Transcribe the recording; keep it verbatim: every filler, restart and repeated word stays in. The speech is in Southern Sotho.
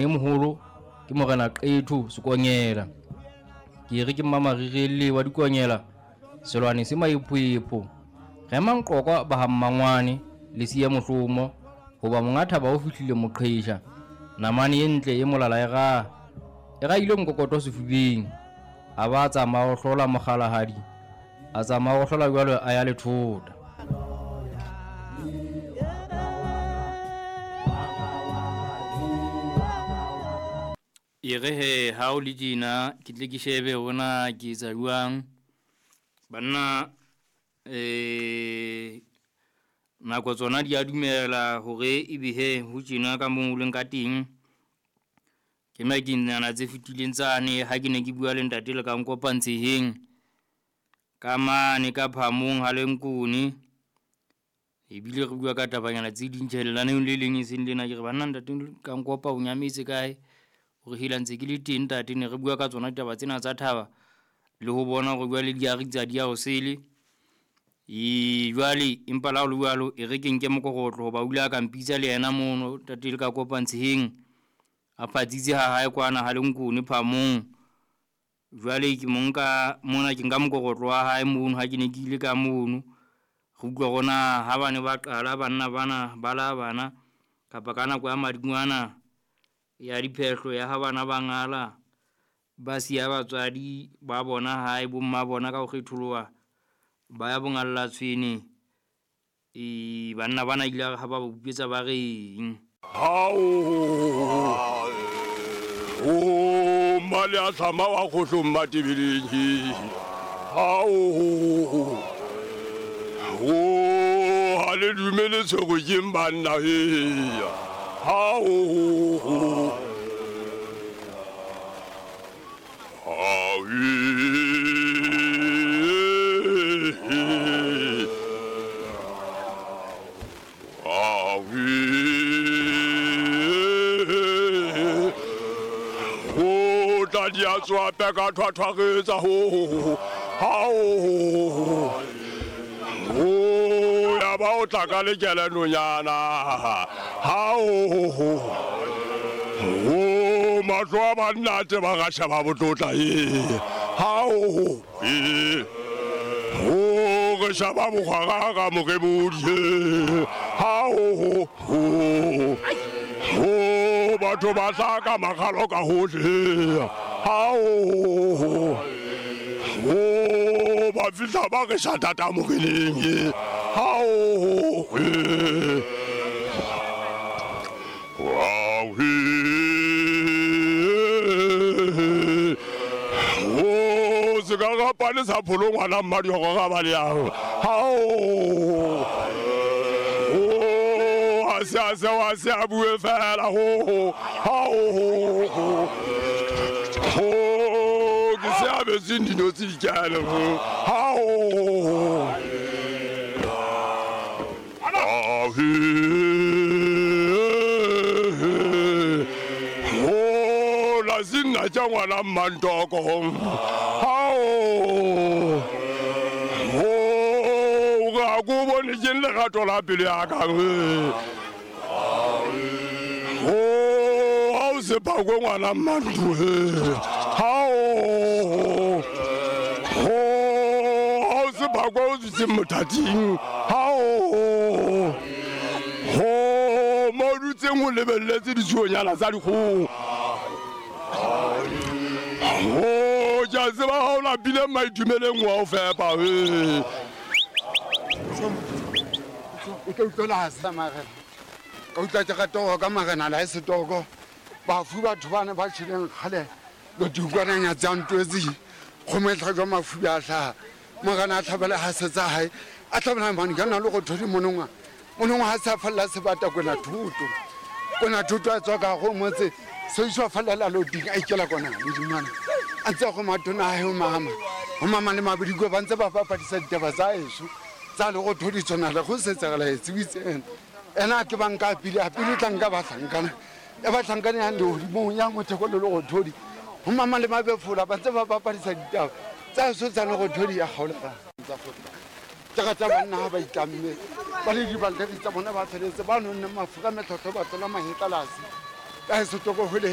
E moholo ke Morena Qetho Sekonyela. Ke re ke Mmamarirele wa Dikonyela, selwane se maephoepho. Rema nqokwa ba ha mmangwane le siya mohlomo, hoba monga thaba o fihlile moqhesha. Namane e ntle e molala e raha, e rahile mokokoto sefubeng. A ba tsamaya ho hlola mokgalahadi, a tsamaya ho hlola jwalo a ya lethota. E re he ha o le tjena ke tle ke shebe hore na ke etsa jwang. Banna eh nako tsona di a dumela hore ebe he ho tjena ka moo o leng ka teng. Ke makenyana tse fetileng tsane ha ke ne ke bua le ntate le ka nkopantsheheng ka mane ka phamong ha le nkone. Ebile re bua ka tabanyana tse ding tjhe lenaneong le leng e seng lena. Ke re banna ntate ka nkopa o nyametse kae? Hore hela ntse ke le teng ntate, ne re bua ka tsona ditaba tsena tsa thaba le ho bona hore jwale di a ritsa di ya ho sele. E jwale empa la ho le jwalo e re ke nke mokorotlo hoba o ile a ka mpitsa le yena mono ntate le ka kopantsheheng. A fatsitse ha hae kwana ha le nkone phamong. Jwale ke mo nka mona ke nka mokorotlo wa hae mono ha ke ne ke ile ka mono. Re utlwa hore na ha bane ba qala banna bana ba la bana kapa ka nako ya madingwana ya diphehlo ya ha bana ba ngala ba siya batswadi ba bona hae bomma bona ka ho kgetholoha ba ya bongalla tshwene. E banna bana ile ha ba ba utlwetsa ba reng. Hao o mali a tlama wa kgohlong matebeleng. Hao o ha le dumele tshwere ke banna he. Hao o tla di a tswa peka thwathwaretsa ho hao o ya ba o tla ka lekela nonyana hao o mahlo a banna te ba ga sheba botlotla e hao e o re shaba bogwara ka morebodi hao o batho ba tla ka makgalo ka hohle hao o ba fihla ba re shatata moreneng hao o se ka rapane sa pholo ngwana mmadioko ga ba le yang hao o a se a se wa se a bue fela ho hao ho ke se a betseng dinotsi dikale hao o la sinna tša ngwana mmantoko hao o ga ko bone ke lerato la pele ya ka o ha o se phakwe ngwana mmantu hao o ha o se phakwe o tsitseng mothating hao ho mo dutseng o lebelletse ditsuonyana tsa dikgoho o ke a tseba ha o lapile maitumeleng wa o fepa o tla utlwela sa marena ka utlwa ke rata ka marena la setoko bafu batho bana ba tjheleng kgale lo dikwana nya tsa ntwetsi kgomo e tlhajwa mafu a hlaha morena a tlhabela ha setsa hae a tlhabela mane ka nna le go thodi monongwa monongwa ha sa falla sebata kona thuto kona thuto a tswa ka go motse se iswa fallela loading a ikela kona le dimana a ntse go matona hae ho mama ho mama le mabidiko ba ntse ba bapadisa ditaba tsa eso tsa le go thodi tsona le go setsagala e tsebitseng ena ke banka pele a pele tla nka ba hlankana e ba hlankana ya lehodimong ya motheko le go thodi ho mama le mabefola ba ntse ba bapadisa ditaba tsa eso tsa le go thodi ya kgaola tsa fota ke rata banna ha ba itlamme ba le dibalteri tsa bona ba feletse ba nonne mafura metlhotlho ba tlola mahetla lasi La e setoko hwele.